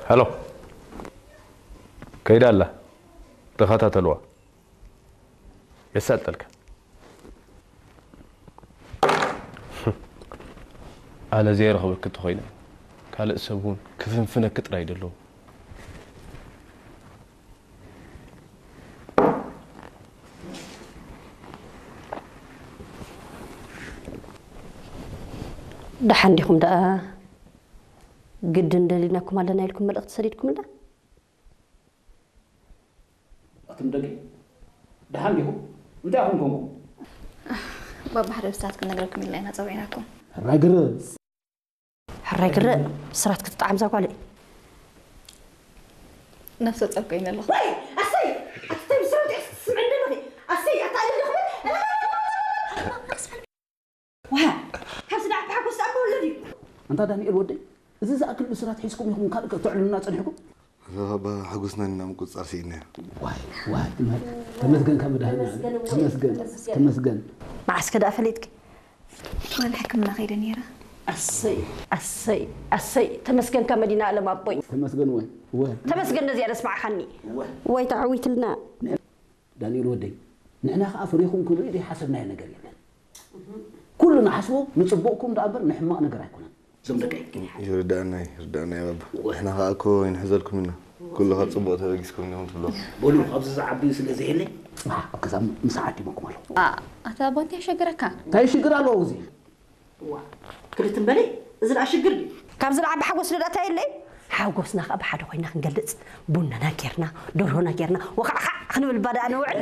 ሄሎ፣ ከይዳ ኣላ፣ ተኸታተልዋ። የሳልጠልካ። ኣነ ዘይረኽበኪ እንተኾይነ፣ ካልእ ሰብ እውን ክፍንፍነኪ ጥራይ ደለዎ። ደሓን ዲኹም ደኣ? ግድን ደሊናኩም ኣለና ኢልኩም መልእኽቲ ሰዲድኩምልና? ኣቱም ደቂ፣ ደሓን ዲኹም? እንታይ ኢኹም ኮንኩም? ባባ፣ ሓደ ብስራት ክንነግረኩም ኢልና ኢና ጸዊዕናኩም። ሕራይ ግርም። ሕራይ ግርም። ብስራት ክትጠዓም እዛ ጓለይ። ነፍሰ ጾር ኮይነ ኣለኹ። ዋይ ኣሰይ ኣቲ እንታይ ብስራት ኢኺ ትስምዒ ዘለኺ? ኣሰይ ኣታ እልል ዶ ክብል? ዋ ካብዚ ደኣ ብሓጎስ ደኣ ክወለድ እዩ። ኣንታ ዳንኤል ወደይ፣ እዚ ዝኣክል ብስራት ሒዝኩም ኢኹም ካልእ ከተዕልሉና ጸኒሕኩም? ኣታ ባባ ሓጎስና ኢና ምቁጽጻር ስኢንና። ዋይ ዋይ ትማል ተመስገን ካብ መድሃኒ ተመስገን ተመስገን። መዓስከ ደኣ ፈሊጥኪ? ትማሊ ሕክምና ከይደ ነይረ። ኣሰይ ኣሰይ ኣሰይ ተመስገን ካብ መዲና ኣለም ኣቦይ። ተመስገን ወይ ወይ ተመስገን ነዚኣ ደስማዕኻኒ። ወይ ተዓዊትልና። ዳንኤል ወደይ፣ ንሕና ከኣ ፈሪኹም ክንርኢ ዘይሓሰብናዮ ነገር የለን። ኩሉ ንሓስቦ ንጽቡቕኩም ደኣ እምበር ንሕማቕ ነገር ኣይኮነን። እዞም ደቀይ ይርዳእና ይርዳእና ባባ። ንሕና ከኣ እኮ ይንሕዘልኩም ኢና። ኩሉ ካብ ጽቡቕ ተበጊስኩም ኢኹም ትብሎ። በሉ ኣብዚ ዝዓቢ ስለ ዘየለይ ጽባሕ ኣብ ገዛ ምሳሕ ዓዲሞኩም ኣለኹ። ኣታ ኣባ እንታይ ይሸግረካ? እንታይ ሽግር ኣለዎ እዚ? ክልት እምበለይ እዚ ደኣ ሽግር ድዩ? ካብዚ ንዓቢ ሓጎስ ዶ ደኣ እንታይ የለይ? ሓጎስና ከዓ ብሓደ ኮይና ክንገልፅ ቡናና ጌርና ደርሆና ጌርና ወኻዕኻዕ ክንብል ባዳ ንውዕል።